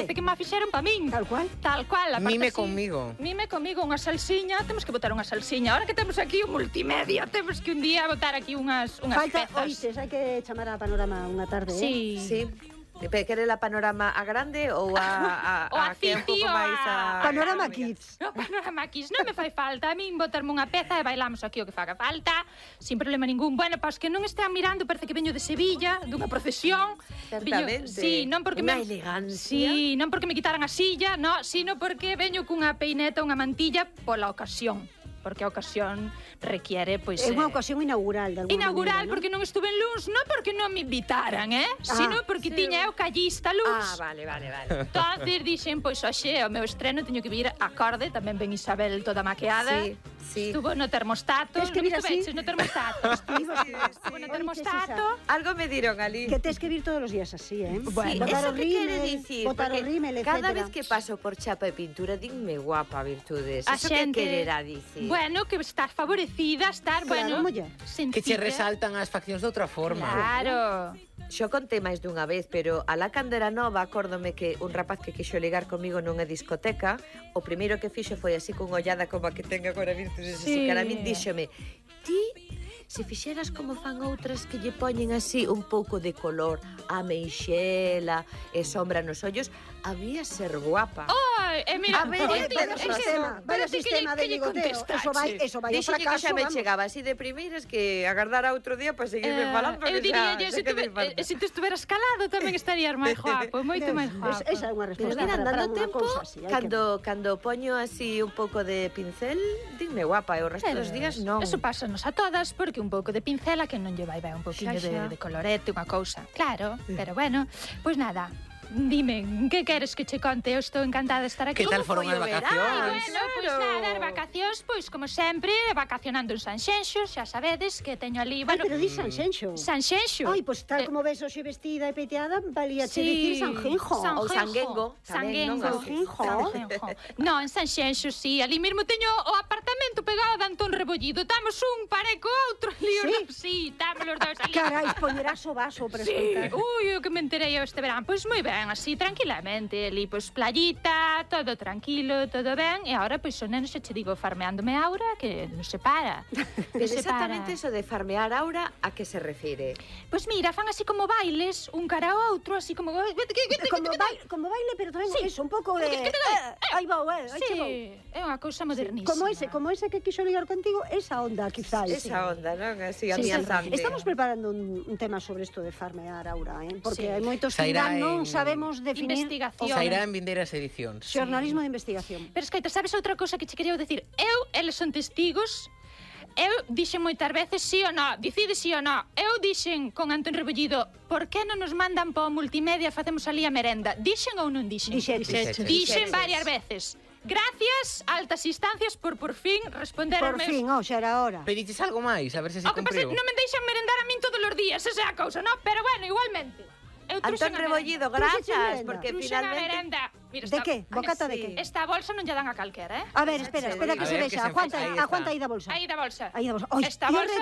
parece que me fixeron pa min. Tal cual. Tal cual. Mime conmigo. Mime comigo unha salsiña. Temos que botar unha salsiña. Ahora que temos aquí un multimedia, temos que un día botar aquí unhas Falta, pezas. oístes, hai que chamar a Panorama unha tarde, Sí. Sí. Quere la Panorama a grande ou a O a que é un pouco City, máis a... Panorama Kids. No, Panorama Kids, non me fai falta a min botarme unha peza e bailamos aquí o que faga falta sin problema ningún. Bueno, para os que non estean mirando, parece que veño de Sevilla, dunha procesión. Certamente. Sí, non porque Unha elegancia. Sí, non porque me quitaran a silla, no, sino porque veño cunha peineta, unha mantilla pola ocasión. Porque a ocasión requiere, pois... É unha ocasión inaugural, de alguna Inaugural, maneira, porque non estuve en Luns, non porque non me invitaran, sino porque tiña eu callista Luns. Ah, vale. Entonces dixen, pois hoxe, o meu estreno teño que vir acorde, tamén ven Isabel toda maqueada. Sí. Estuvo no termostato. Tes que vir Non así? estuveches no termostato. Estuvo no termostato. Algo me diron ali. Que tes que vir todos os días así, Bueno, botar Eso o que quere rímel, dicir, botar o porque rímel, cada etcétera. vez que paso por chapa e pintura dinme guapa, Virtudes. A Eso que xente- quererá dicir? Bueno, que estás favorecida, estar, Claro, bueno, muller. Que che sencilla. resaltan as faccións de outra forma. Claro. Xo contei máis dunha vez, pero alá cando era nova, acórdome que un rapaz que quixo ligar comigo nunha discoteca, o primeiro que fixo foi así cunha ollada como a que ten agora Virtudes, así Sí. cara a min díxome: ti, se fixeras como fan outras que lle poñen así un pouco de color, a meixela e sombra nos ollos, había ser guapa. Ai, mira, A ver, Vaya sistema, vaya sistema de ligoteo. Eso vai ao Dixo que fracaso, xa me vamos. chegaba así de primeiras que agardara outro día para seguirme falando, eu porque diría, xa se, quedei farta. se te estuveras calado tamén estarías máis guapo, moito máis guapo. Esa é unha Pero resposta mira, para andando unha tempo, cousa así. hai que- cando poño así un pouco de pincel, dinme guapa, e o resto dos días non. Eso pásanos a todas, porque un pouco de pincela que non lle vai un poquinho Xa. de colorete, unha cousa. Claro, pero bueno, pois nada. Dime, que queres que che conte? Eu estou encantada de estar aquí. Que tal Como foron foi as o verán? vacacións? Bueno, pois nada, as vacacións, pois como sempre, vacacionando en Sanxenxo, xa sabedes que teño ali, Ai, bueno, pero di Sanxenxo. Sanxenxo. Ai, pois tal como ves hoxe vestida e peteada, valía che dicir Sanjenjo. Ou Sanguengo, tamén, non? Sanguengo. Sanjenjo. No, en Sanxenxo, sí. Ali mesmo teño o apartamento pegado de Antón Rebollido. Estamos un pareco outro ali. Sí? Sí, estamos os dous ali. Carai, poñerás o vaso para Sí, escoitar. ui, o que me enterei eu este verán. Pois moi ben, así, tranquilamente. Ali, pois, playita, todo tranquilo, todo ben. E agora, pois, o neno xa che digo, farmeándome Aura, que non se para. Pero exactamente eso de farmear aura, a que se refire? Pois mira, fan así como bailes, un cara ao outro, así como... Como baile, pero tamén Sí. eso, un pouco de... Aí vou, aí chegou. Sí, é unha cousa modernísima. Como ese que quixo ligar contigo, esa onda, quizás. Esa onda, non? Así, Sí, amianzante. estamos preparando un tema sobre isto de farmear Aura, porque Sí. hai moitos que Sairá ainda non en sabemos definir investigación. Sairá en vindeiras edicións. xornalismo de investigación. Pero escoita, sabes outra cousa que che quería decir? Eles son testigos. Eu dixen moitas veces sí ou no, dicide sí ou no. Eu dixen con Antón Rebollido, por que non nos mandan para o multimedia, facemos ali a merenda? Dixen ou non dixen? Dixeches. Dixen varias veces. Gracias, altas instancias, por fin responder Por aos meus... fin, xa era hora. Pediches algo máis, a ver se se O que pasa é cumpriu. que non me deixan merendar a min todos os días, esa é a cousa, non? Pero bueno, igualmente. Eu Antón truxen a Rebollido, merenda. Truxeche grazas, merenda. porque Truxen a finalmente... merenda. Mira, De que? Bocata de Sí. que? Esta bolsa non lle dan a calquera, A ver, espera que A se ver, que vexa. se Aguanta enfecha, aí aguanta está. aí da bolsa. Aí da bolsa. Aí da bolsa. Oi, Esta e o bolsa-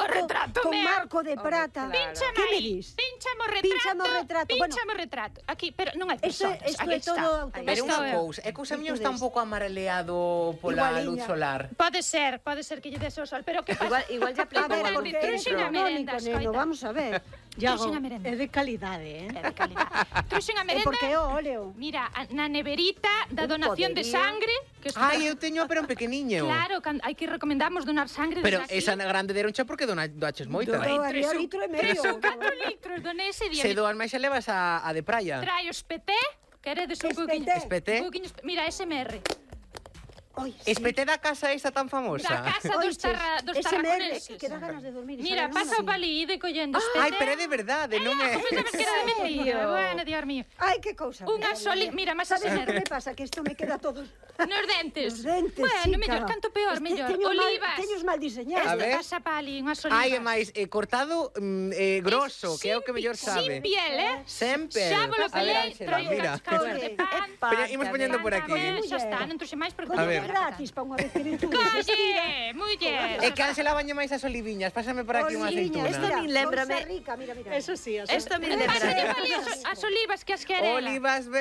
retrato con meu. marco de prata. claro. Pínchame Que me aí. dis? Pínchame o Pínchame o retrato. Bueno. Pínchame o retrato. Aquí, pero non hai Isto personas. isto Aquí é todo está. automático. Pero unha Isto é- cousa, é cousa miña está un pouco amareleado pola Igualiña. luz solar. Pode ser que lle des o sol, pero que pasa? Igual A ya aplicou ver, algo porque Truxen a é merenda, económico, neno, escoita. vamos a ver. Truxen a merenda. É de calidade, É de calidade. Truxen a É porque é merenda. o óleo. Mira, na neverita da Un donación de poderío. sangre, que isto- Ai, eu teño pero un pequeniño. Claro, hai que recomendamos donar sangre. Pero desde aquí. esa grande deroncha porque doaches moita. Doaría litro e medio. 4 litros donei ese día. Se doas máis xa levas a de praia. Traio espeté, queredes un poquinho. Espeté. Un poquinho mira, SMR. Oi, Espeté da casa esta tan famosa. Da casa dos SMR, tarraconeses. que dá ganas de dormir. Mira, pasa o palí de collendo espeté. Ai, pero é de verdade, non é... Como sabes que era de mentira? Bueno, Dios mío. Ai, que cousa. Unha soli... Mira, máis Sabes SMR. que me pasa? Que isto me queda todo... Nos dentes. Os dentes, Bueno, sí, mellor, cara. canto peor, mellor. Olivas. Olivas. Teños mal diseñados. A Esta ver. pasa pali, unhas olivas. Ai, e máis, cortado grosso, que é o que mellor sabe. Sin piel, Sempre. Xa volo A ver, pelei, Ángela, traio mira. cascas de pan. Pero imos poñendo por aquí. Xa está, non trouxe máis porque... A Coño, ver. gratis, pa unha vez que virtudes. Calle, muller. E can se la baña máis as oliviñas, pásame por aquí unha aceituna. Esto a min lémbrame- Rica, mira, mira. Eso sí, Esto me Pásate lembra... pali as olivas que as querelas. Olivas